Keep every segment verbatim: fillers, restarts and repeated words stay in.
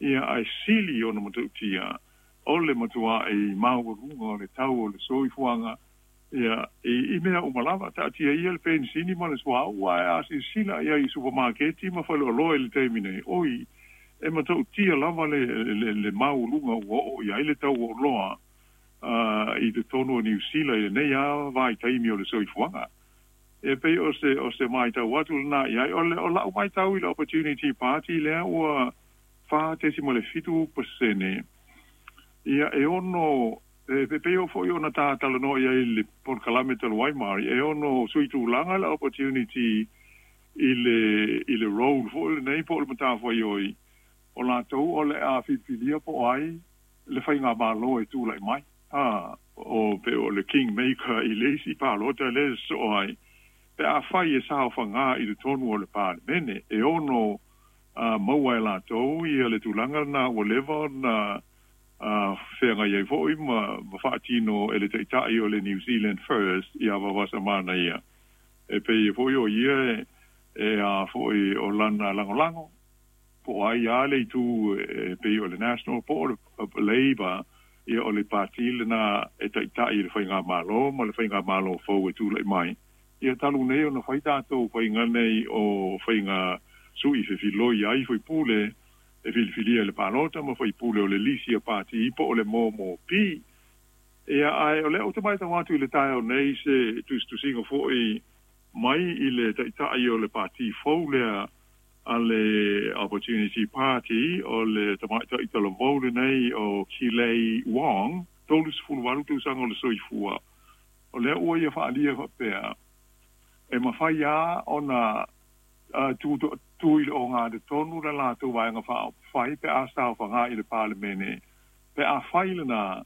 Ia ae sili ona matautia o le matua'i maualuga o le tau o le soifuaga ia i, i mea uma lava. Taatia ia le penisini ma le suauu, ae a silasila ia i supamaketi ma faleoloa i le taimi nei, oi, e matautia lava le, le, le maualuga ua oo i ai le tau o oloa uh, i totonu o Niu Sila i lenei a vaitaimi o le soifuaga. E pei o se o se matau atu lena i ai. O le o la'u matau i le Opportunity Party lea ua fa tesima le fitu pasene, ia e ono e pei o fo'i ona tatalanoa i ai le polokalame talu ai mari, e ono sui tulaga le Opportunity i le i le role fo'i lenei po o le matafaioi o latou o le a filifilia po o ai le faigamalo e tula'i mai, a o pe o le kingmaker i le isi palota le sosoo ai pe afai e saofagā i totonu o le Palemene. E ono uh, maua e latou ia le tulaga lena ua leva ona uh, feagai ai fo'i ma, ma faatino e le taita'i o le New Zealand First ia Vavasamana ia. E pei fo'i o ia e, e a fo'i o lana lagolago po o ai a le itu e pei o le National po o le Labour, ia o le pati lena e taita'i i le faigamalo ma le faigamalo fou e tula'i mai. Ia talu nei ona fai tatou faiga nei o faiga sui fefiloi ai faipule e filifilia i le palota ma faipule o le lisi a pati po o le M M P. Ia ae o lea ou te matau atu i le taeao nei se tusitusiga fo'i mai i le taita'i o le pati fou lea a le Opportunity Party, o le tamaita'i talavou lenei o Kilei Wong, tolu sefulu valu tausaga o le soifua. O lea ua ia faalia faapea e mafai a ona uh, tu, tu i le ogatotonu le latou vaega faaupufai pe a saofagā i le Palemene. Pe afai lena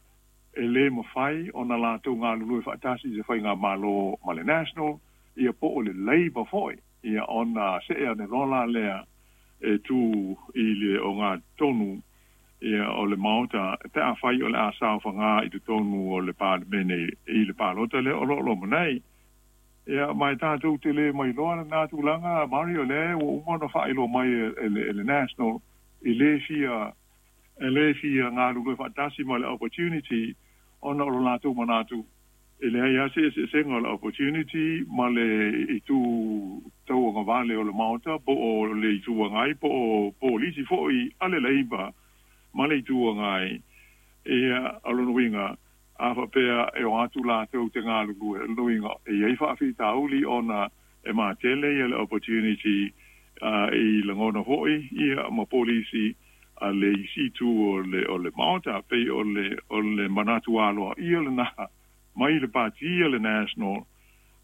e lē mafai ona latou galulue faatasi i se faigamalo ma le National ia po o le Labour fo'i, ia ona se'e ane loa la lea e tū i le ogatotonu ia o le Maota pe afai o le a saofagā i totonu o le Palemene i le palota lea o loo loma nei. Ia ma e tatou te lē mailoa lena tulaga mari, o lea ua uma ona faailoa mai e le, e le National i lē fia e lē fia galulue faatasi ma le Opportunity ona o lo latou manatu e leai a se eseesega o le Opportunity ma le itu tauagavale o le Maota po o le Itu Agai po o polisi fo'i a le Labour ma le Itu Agai. Ia o lona uiga a faapea e o atu latou te galulue, o lona uiga e iai faafitauli ona e matele ia le Opportunity uh, i lagona fo'i ia ma polisi a le isi itu o le o le Maota. Pei o le o le manatu aloa ia lena mai le pati le National,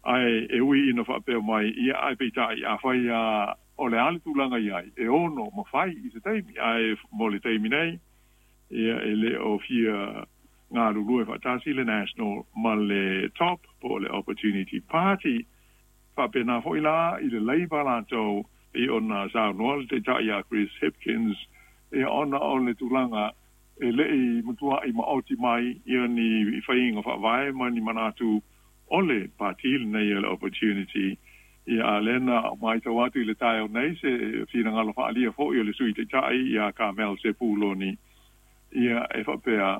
ae e ui ina faapea mai ia, ae peitai afai a o le a le tulaga i ai e ono mafai i se taimi, ae mo le taimi nei ia e lē o fia galulue faatasi le National ma le Top po o le Opportunity Party. Faapena fo'i la i le Labour latou i ona saunoa le taita'i a Chris Hipkins ia ona o le tulaga e le'i matua'i maoti mai ia ni faiga faavae ma ni manatu o le pati lenei o le Opportunity. Ia a lena matau atu i le taeao nei se finagalo faaalia fo'i o le sui taita'i ia Carmel Sepuloni, ia e faapea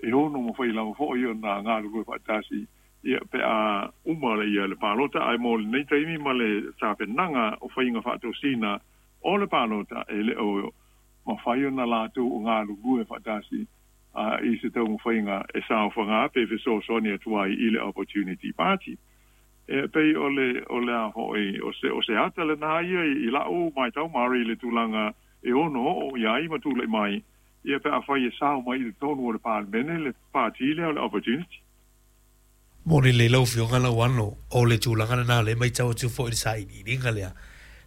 e ono mafai lava fo'i ona galulue faatasi ia pe a uma le ia le palota, ae mo lenei taimi ma le tapenaga o faiga faatosina o le palota e lē o mafai ona latou o galulue faatasi a i se taumafaiga e saofagā pe fesoasoani atu ai i le Opportunity Party. E pei o le o le a fo'i o se o se ata lena ia i la'u matau mari le tulaga e ono oo ia ai ma tula'i mai ia pe afai e sao mai i totonu o le Palemene le pati lea o le Opportunity. Mo le le lau fioga Lauano, o le tulaga lena le matau atu fo'i le sailiiliga lea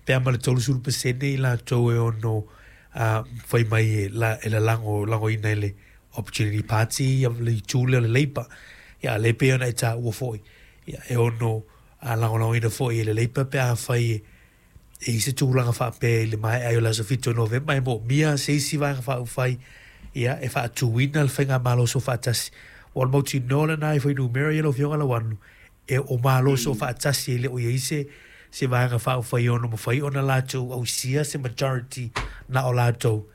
pe a ma le tolusefulu pasene i latou e ono uh, fai mai e la, e lalago lagoina i le Opportunity Party ia le itu lea o le Labour. Ia le pei ona e taua fo'i ia e ono uh, lagolagoina fo'i e le Labour pe a fai e e i se tulaga faapea i le maea ai o le aso fitu o Novema e moomia se isi vaega faaupufai ia e faatuina le faigamalo soofaatasi. Ua le mautinoa lena e fuainumera ia lau Afioga Lauanu e o malo soofaatasi e le o iai se se vaega faaupufai ono mafai ona latou ausia se majority na o latou.